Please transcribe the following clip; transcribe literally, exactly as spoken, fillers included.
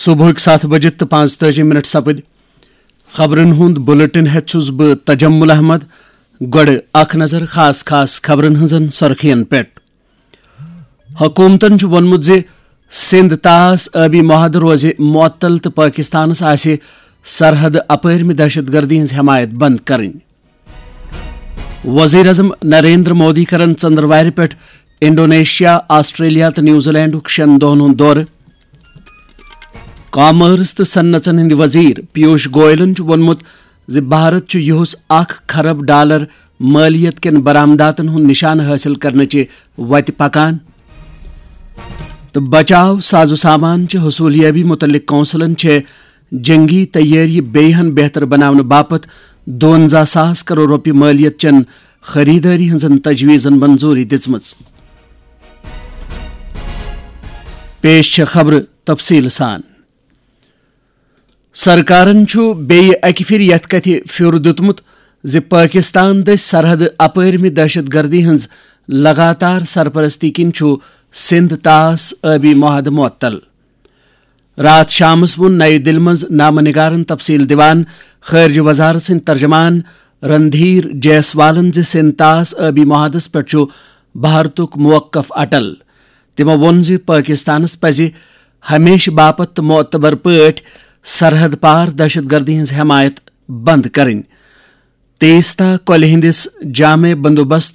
صبحٕکۍ ستھ بجہِ تہٕ پانٛژتٲجی منٹ سپٕدۍ۔ خبرن ہُنٛد بلیٹن ہٮ۪تھ چھُس بہٕ تجمل احمد۔ گۄڈٕ اکھ نظر خاص خاص خبرن ہٕنٛزن سرخین پٮ۪ٹھ۔ حکومتن چھُ ووٚنمُت زِ سندھ طاس آبی معاہدٕ روزِ معطل تہٕ پٲکستانس آسہِ سرحد اپٲرمہِ دہشت گردی ہٕنٛز حمایت بند کرٕنۍ۔ وزیر اعظم نریندر مودی کرن ژندروارِ پٮ۪ٹھ انڈونیشیا، آسٹریلیا تہٕ نیوزی لینڈُک شٮ۪ن دۄہن ہُنٛد دورٕ۔ کامرس تہٕ صنعژن ہٕنٛدۍ وزیر پیوش گوئلن چھُ ووٚنمُت زِ بھارت چھُ یِہُس اکھ کھرب ڈالر مٲلیت کٮ۪ن برآمداتن ہُنٛد نشانہٕ حٲصِل کرنٕچہِ وتہِ پکان۔ تہٕ بچاو ساز و سامان چہِ حصولیابی متعلق کونسلن چھےٚ جنگی تیٲری بیٚیہِ ہن بہتر بناونہٕ باپتھ دُوَنزاہ ساس کرور رۄپیہِ مٲلیت چٮ۪ن خریدٲری ہٕنٛزن تجویزن منظوری دِژمٕژ۔ پیش چھےٚ خبرٕ تفصیٖل سان۔ سرکارن چھُ بیٚیہِ اکہِ پھِرِ یتھ کتھِ پھیُر دیُتمُت زِ پٲکستان دٔسۍ سرحد اپٲرمہِ دہشت گردی ہٕنٛز لگاتار سرپرستی کِنۍ چھُ سندھ طاس آبی معاہدٕ معطل۔ راتھ شامس ووٚن نَیہِ دِلہِ منٛز نامہ نگارن تفصیل دِوان خارجہ وزارت سٕنٛدۍ ترجمان رندھیر جیسوالن زِ سندھ طاس آبی معاہدس پٮ۪ٹھ چھُ بھارتُک موقف اٹل۔ تِمو ووٚن زِ پٲکستانس پزِ ہمیشہٕ باپتھ تہٕ معتبر پٲٹھۍ سرحد پار دہشت گردی ہٕنٛز حمایت بند کرٕنۍ۔ تیستا کۄلہِ ہٕنٛدِس جامع بندوبست